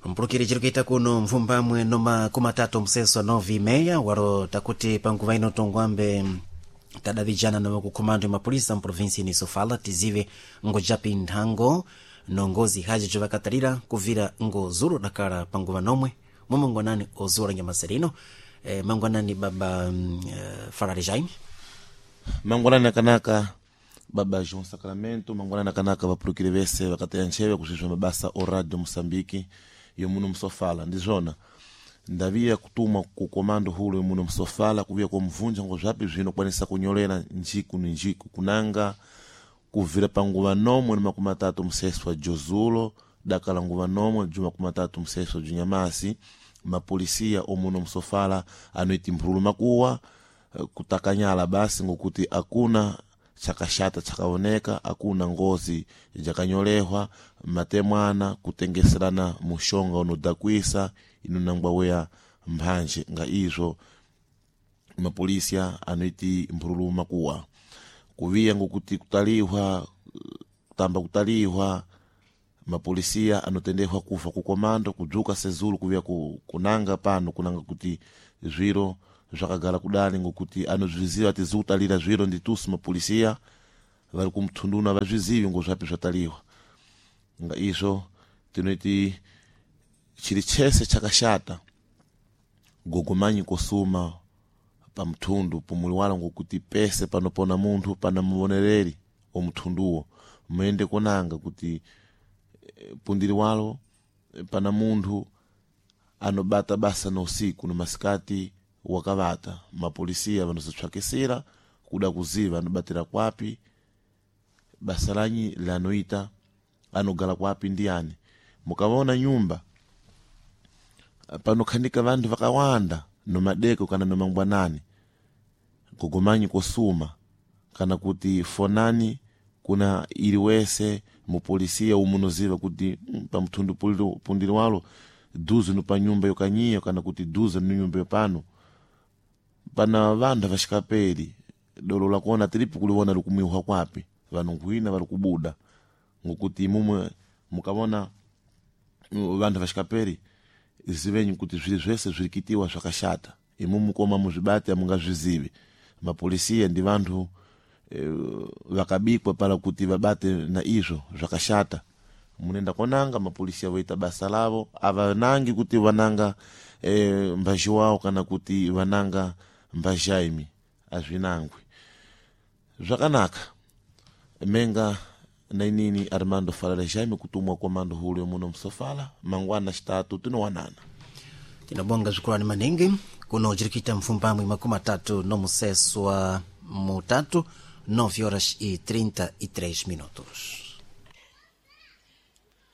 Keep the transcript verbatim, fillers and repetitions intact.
Mpulukiri chiri kuita kuno mvumbamwe noma kumatatu mseso nove meia waro takuti panguva ino tongwambe tadavijana na wakukhumando ya mapolisa mprovinsi ni Sofala tizive ngojapi nthango nongozi haji jovakatalira kuvira ngozulu dakala panguva nomwe momangwanani ozula nyamaserino e, mangwanani baba mm, eh, Farari Jaime. Mangwanani akanaka baba João Sacramento, mangwanani akanaka vapulukiri vese vakateya ntcheve kusvisva mabasa o Radio Moçambique yomuno msofala. Ndizvona ndaviya kutumwa ku komando hulo yomuno msofala kuviya komvunja ngo zvapi zvinokwanisa kunyolera njiku ni njiku kunanga kuvira panguva nomwe ni makumi atatu mseswa jozulo dakala nguva nomwe ju makumi atatu mseswa junyamasi mapolisia omuno msofala anoiti mphululu makuwa eh, kutakanyala basi ngokuti akuna chakashata chakaoneka akuna ngozi jakanyolehwa matemwana kutengeserana mushonga unodakwisa inonangwa weya mphanje nga izvo mapolisia anoiti mphululu makuwa kuviya ngokuti kutalihwa kutamba kutalihwa mapolisia anotendehwa kufa kukomando kudzuka sezulu kuviya ku, kunanga pano kunanga kuti zviro zvakagala kudali ngokuti anozviziva tizikutalira zviro nditusu mapolisia vari kumthunduna vazvizivi ngozvapi zvataliwa nga izvo tinoti chiri chese chakashata gogomanyi kosuma pamthundu pumuliwala ngokuti pese panopona munthu pana muvonereri omthunduwo muyende konanga kuti eh, pundiri walo eh, pana munthu anobata basa na usiku no masikati wakavata mapolisia vanozotshwakisira kuda kuziva anobatira kwapi basa lanyi lanoita anogala kwapi ndiyani mukavaona nyumba panokhanika vanthu vakawanda nomadeko kana nomangwanani gogomanyi kosuma kana kuti fonani kuna iliwese mupolisia umunoziva kuti mm, pamthundu puliro- pundiri walo duze no panyumba yokanyiyo kana kuti duze no nyumba yopano pana vanthu avaxikapeli dolo lakuona tilipo kuliwona likumwihwa kwapi vanhu nkhwina vari kubuda ngokuti imumwe mukavona mm, vanthu vaxikapeli zivenyi kuti zviri zvese zvirikitiwa zvakashata imumu koma muzvibate amungazvizivi mapolisia ndi vanthu eh, vakabikwa pala kuti vabate na izvo zvakashata munenda konanga mapolisia voita basa lavo avanangi kuti vananga eh, mbazhi wao kana kuti vananga mbazhaimi azvinangwi zvakanaka menga nainini Armando Falala Jaime kutumwa komando hulo yomuno msofala mangwana xitatu tinowanana. Tinabonga zvikulani maningi kuno chirikuita mfumbamwe makumi atatu nomuseswa mutatu nove horas e trinta e três minutos.